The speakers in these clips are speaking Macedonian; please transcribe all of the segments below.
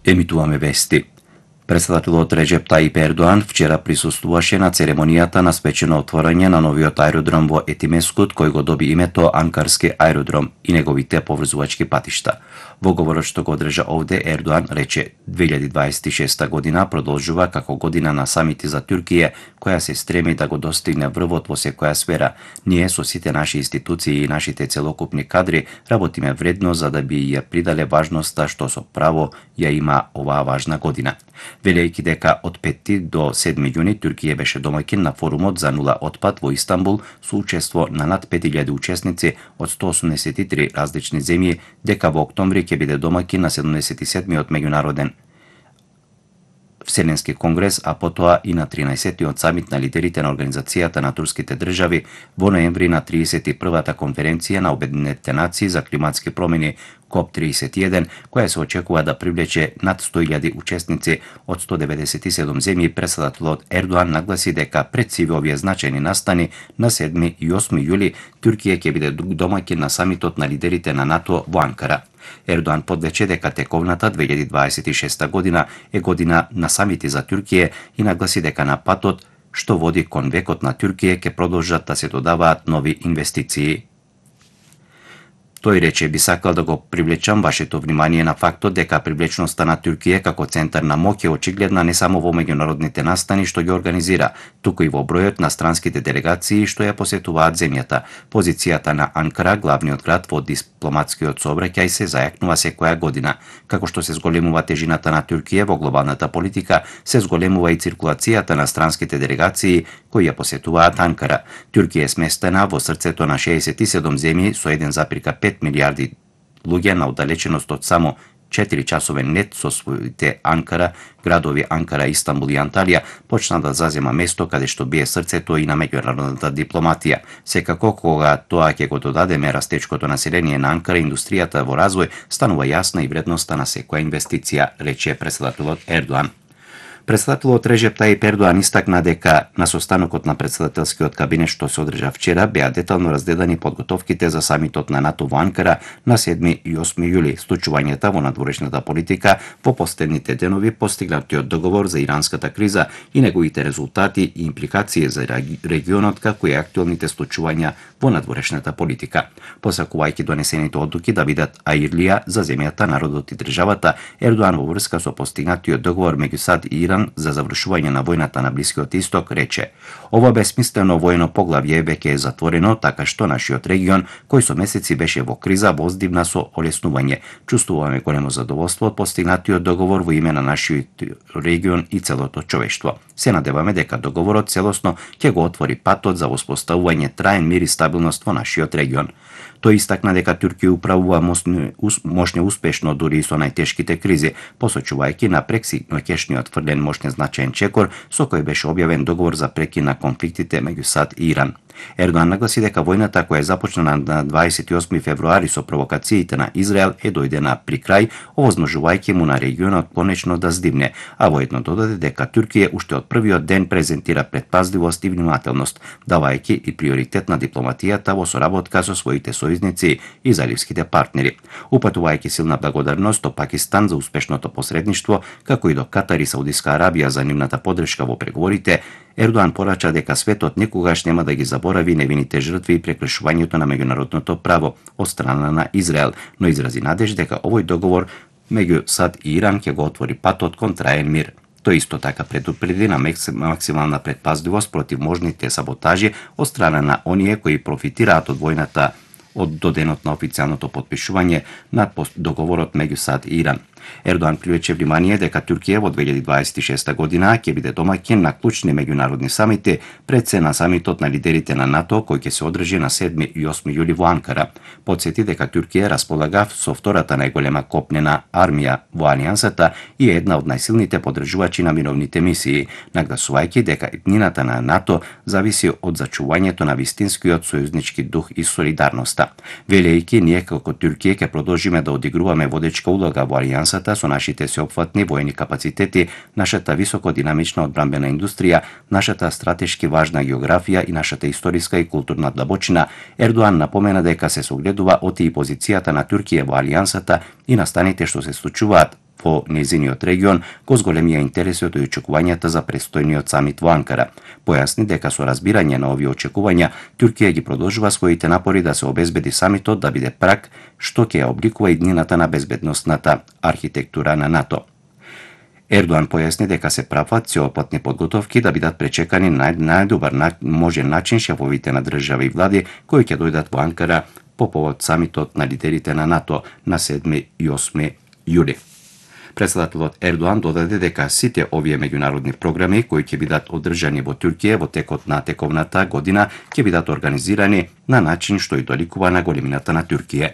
Емитуваме вести. Председателот Реджеп Таип Ердоан вчера присуствуваше на церемонијата на свечено отворање на новиот аеродром во Етимескут, кој го доби името Анкарски аеродром и неговите поврзувачки патишта. Во говорот што го одржа овде, Ердоан рече 2026 година продолжува како година на самити за Туркија, која се стреми да го достигне врвот во секоја сфера. Ние со сите наши институции и нашите целокупни кадри работиме вредно за да би ја придале важноста што со право ја има оваа важна година. Велејќи дека од 5 до 7 јуни Туркија беше домаќин на форумот за нула отпад во Истанбул со учество на над 5000 учесници од 183 различни земји, дека во октомври ќе биде домаќин на 77-миот меѓународен Вселенски конгрес, а потоа и на 13-тиот самит на лидерите на Организацијата на турските држави, во ноември на 31-та конференција на Обединетите нации за климатски промени КОП-31, која се очекува да привлече над 100.000 учесници од 197 земји. Председателот Ердоан нагласи дека пред сиве овие значајни настани на 7 и 8 јули Туркија ќе биде домаќин на самитот на лидерите на НАТО во Анкара. Ердоан подлече дека тековната 2026 година е година на самити за Туркија и нагласи дека на патот што води кон векот на Туркија ќе продолжат да се додаваат нови инвестиции. Тој рече: би сакал да го привлечам вашето внимание на фактот дека привлечноста на Туркија како центар на моќ е очигледна не само во меѓународните настани што ги организира, туку и во бројот на странските делегации што ја посетуваат земјата. Позицијата на Анкара, главниот град во дипломатскиот сообраќај, се зајакнува секоја година. Како што се зголемува тежината на Туркија во глобалната политика, се зголемува и циркулацијата на странските делегации кои ја посетуваат Анкара. Туркија е сместена во срцето на 67 земји со 1,5 милиарди луѓе на оддалеченост од само 4 часовен лет со своите Анкара, градови Анкара, Истанбул и Анталија, почна да зазема место каде што бие срцето и на меѓународната дипломатија. Секако, кога тоа ќе го додадеме растечкото население на Анкара, индустријата во развој, станува јасна и вредноста на секоја инвестиција, рече председателот Ердоан. Председателот Реджеп Таип Ердоан истакна дека на состанокот на председателскиот кабинет што се одржа вчера беа детално разгледани подготовките за самитот на НАТО во Анкара на 7 и 8 јули, случувањата во надворешната политика во последните денови, постигнатиот договор за иранската криза и неговите резултати и импликации за регионот, како и актуелните случувања во надворешната политика. Посакувајќи донесените одлуки да бидат аирлија за земјата, народот и државата, Ердоан во врска со постигнатиот договор меѓу САД и Иран за завршување на војната на Блискиот Исток рече: ова бесмислено војно поглавје веќе е затворено, така што нашиот регион, кој со месеци беше во криза, воздивна со олеснување. Чувствуваме големо задоволство од постигнатиот договор во име на нашиот регион и целото човештво. Се надеваме дека договорот целосно ќе го отвори патот за воспоставување траен мир и стабилност во нашиот регион. Тој истакна дека Туркија управува мощно успешно дури и со најтешките кризи, посочувајќи на пресигноќешниот фрлен мощен значаен чекор со кој беше објавен договор за прекин на конфликтите меѓу САД и Иран. Ердоан нагласи дека војната која е започнала на 28 февруари со провокациите на Израел е дојдена при крај, овозможувајќи му на регионот конечно да здивне, а воедно додаде дека Туркија уште од првиот ден презентира предпазливост и внимателност, давајќи и приоритет на дипломатијата во соработка со своите сојузници и заливските партнери. Упатувајќи силна благодарност до Пакистан за успешното посредништво, како и до Катар и Саудиска Арабија за нивната поддршка во преговорите, Ердоан порача дека светот никогаш нема да ги заборави невините жртви и прекршувањето на меѓународното право од страна на Израел, но изрази надеж дека овој договор меѓу САД и Иран ќе го отвори патот кон траен мир. Тој исто така предупреди на максимална предпазливост против можните саботажи од страна на оние кои профитираат од војната до денот на официјалното потпишување на договорот меѓу САД и Иран. Ердоан привлече внимание дека Туркија во 2026 година ќе биде домаќин на клучни меѓународни самити, пред се на самитот на лидерите на НАТО кој ќе се одржи на 7 и 8 јули во Анкара. Потсети дека Туркија располага со втората најголема копнена армија во алијансата и е една од најсилните поддржувачи на мировните мисии, нагласувајќи дека иднината на НАТО зависи од зачувањето на вистинскиот сојузнички дух и солидарноста. Велејќи ние како Туркија ќе продолжиме да одигруваме водечка улога во алијансата со нашите сеопфатни воени капацитети, нашата високодинамична одбранбена индустрија, нашата стратешки важна географија и нашата историска и културна длабочина, Ердоан напомена дека се согледува оти и позицијата на Туркија во алијансата и настаните што се случуваат во нејзиниот регион го зголемија интересот и очекувањата за престојниот самит во Анкара. Појасни дека со разбирање на овие очекувања, Туркија ги продолжува своите напори да се обезбеди самитот да биде праг што ќе ја обликува иднината на безбедносната архитектура на НАТО. Ердоан појасни дека се прават сеопатни подготовки да бидат пречекани на најдобар можен начин шефовите на држави и влади кои ќе дојдат во Анкара по повод самитот на лидерите на НАТО на 7 и 8 јули. Председателот Ердоан додаде дека сите овие меѓународни програми кои ќе бидат одржани во Туркија во текот на тековната година ќе бидат организирани на начин што и доликува на големината на Туркија.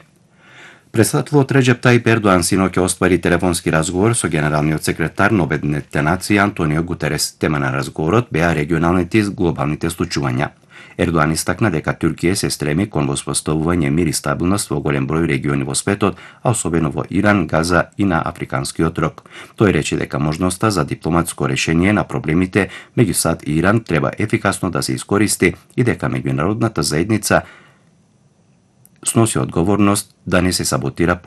Председателот Реджеп Тајип Ердоан синоќа оствари телефонски разговор со генералниот секретар на Обединетите нации Антонио Гутерес. Тема на разговорот беа регионалните и глобалните случувања. Ердоан истакна дека Туркија се стреми кон воспоставување мир и стабилност во голем број региони во светот, а особено во Иран, Газа и на Африканскиот рог. Тој рече дека можноста за дипломатско решение на проблемите меѓу САД и Иран треба ефикасно да се искористи и дека меѓународната заедница сноси одговорност да не се саботира